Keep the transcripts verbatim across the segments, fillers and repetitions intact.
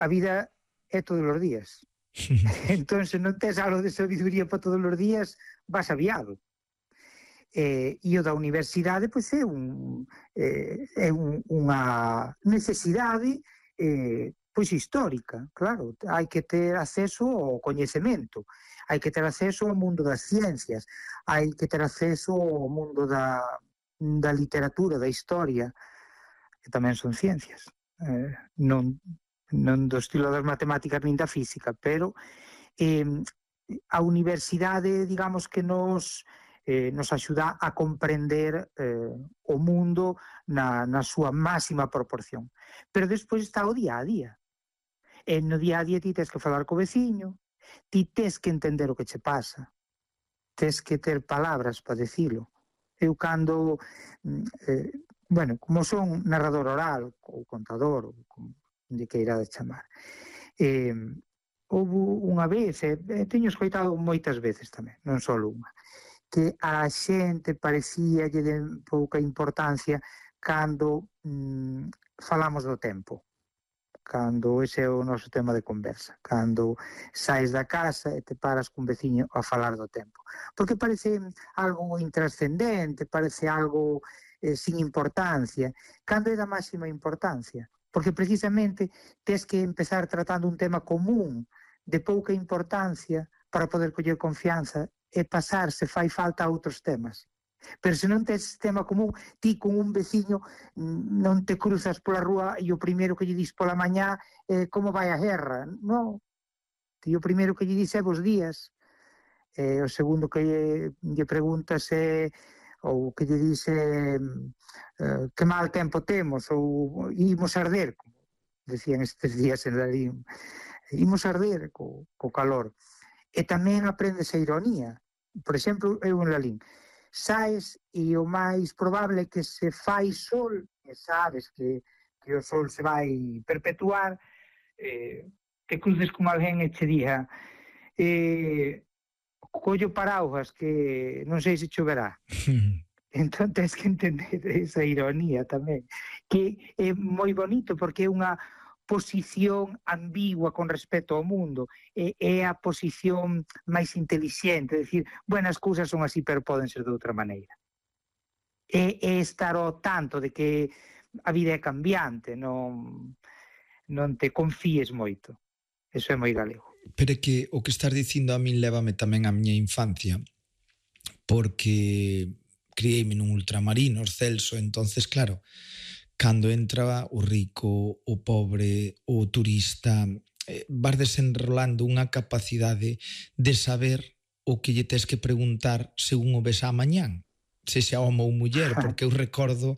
a vida é todos os días. Entón, se non tes algo de sabiduría para todos os días, vas aviado. Eh, e o da universidade, pois é, un, eh, é un, unha necesidade eh, pois histórica, claro. Hai que ter acceso ao coñecemento, hai que ter acceso ao mundo das ciencias, hai que ter acceso ao mundo da, da literatura, da historia, que tamén son ciencias. Eh, non, non do estilo das matemáticas nin da física, pero eh, a universidade, digamos que nos, eh, nos axuda a comprender eh, o mundo na, na súa máxima proporción. Pero despois está o día a día. E no día a día ti tens que falar co veciño, ti tens que entender o que che pasa, tens que ter palabras para decilo. Eu cando, eh, bueno, como son narrador oral, ou contador, ou como de que irá de chamar, eh, houve unha vez, e eh, teño escoitado moitas veces tamén, non só unha, que a xente parecía lle de pouca importancia cando mm, falamos do tempo, cando ese é o noso tema de conversa, cando saes da casa e te paras cun veciño a falar do tempo, porque parece algo intrascendente, parece algo eh, sin importancia, cando é da máxima importancia, porque precisamente tes que empezar tratando un tema común de pouca importancia para poder coller confianza e pasar, se fai falta, a outros temas. Pero se non tes tema común, ti con un veciño non te cruzas pola rúa e o primeiro que lle dis pola mañá é como vai a guerra. Non, ti o primeiro que lle dis é bos días, e o segundo que lle, lle preguntas é, ou que lle dis é uh, que mal tempo temos, ou imos arder, como decían estes días en Lalín, imos arder co, co calor. E tamén aprendes a ironía. Por exemplo, eu en Lalín, saes e o máis probable é que se fai sol, e sabes que, que o sol se vai perpetuar, eh, te cruces con alguén e che diga eh, collo paraugas que non sei se choverá. Entón tens que entender esa ironía tamén, que é moi bonito porque é unha posición ambigua con respecto ao mundo, é, é a posición máis intelixente, é dicir, bueno, as cousas son así, pero poden ser de outra maneira. É, é estar ao tanto de que a vida é cambiante, non, non te confíes moito. Eso é moi galego. Pero é que o que estás dicindo a min lévame tamén á miña infancia, porque criei-me nun ultramarinos, Celso, entonces, claro, cando entra o rico, o pobre, o turista, eh, vas desenrolando unha capacidade de saber o que lle tes que preguntar según o ves a mañán, sexa home ou muller, porque eu recordo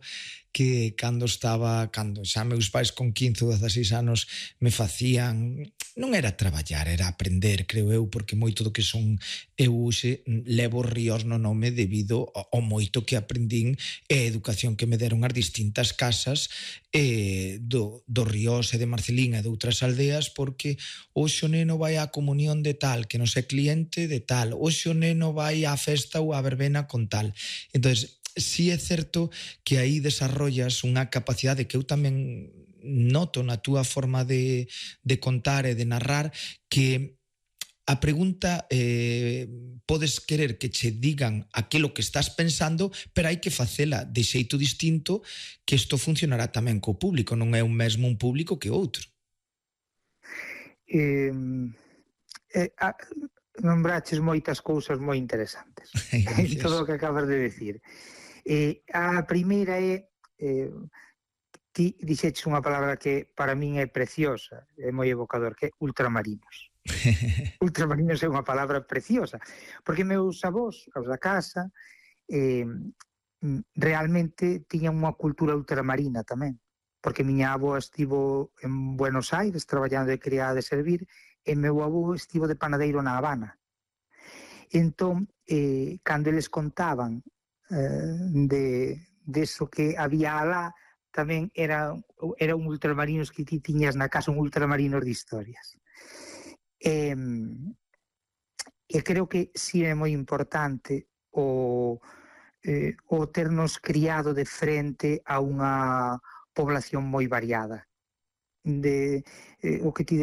que cando estaba, cando xa meus pais con quince ou dezaseis anos me facían, non era traballar, era aprender, creo eu, porque moito do que son eu hoxe levo ríos no nome debido ao moito que aprendín e a educación que me deron as distintas casas eh, do, do Ríos e de Marcelín e de outras aldeas, porque hoxe o neno vai á comunión de tal, que non sei cliente de tal, hoxe o neno vai á festa ou á verbena con tal. Entonces, si é certo que aí desarrollas unha capacidade que eu tamén noto na túa forma de, de contar e de narrar, que a pregunta eh, podes querer que che digan aquilo que estás pensando, pero hai que facela de xeito distinto, que isto funcionará tamén co público, non é un mesmo un público que outro. Eh, eh, a, nombraches moitas cousas moi interesantes en todo o que acabas de decir. Eh, a primeira é eh, ti dixeches unha palabra que para min é preciosa, é moi evocador, que é ultramarinos. Ultramarinos é unha palabra preciosa, porque meus avós, os da casa, eh, realmente tiñan unha cultura ultramarina tamén, porque miña avó estivo en Buenos Aires traballando de criada de servir, e meu avó estivo de panadeiro na Habana. Entón, eh, cando eles contaban eh, de, de eso que había alá, tamén era, era un ultramarinos que ti tiñas na casa, un ultramarinos de historias. E, e creo que si é moi importante o, eh, o ternos criado de frente a unha población moi variada. de eh, o que ti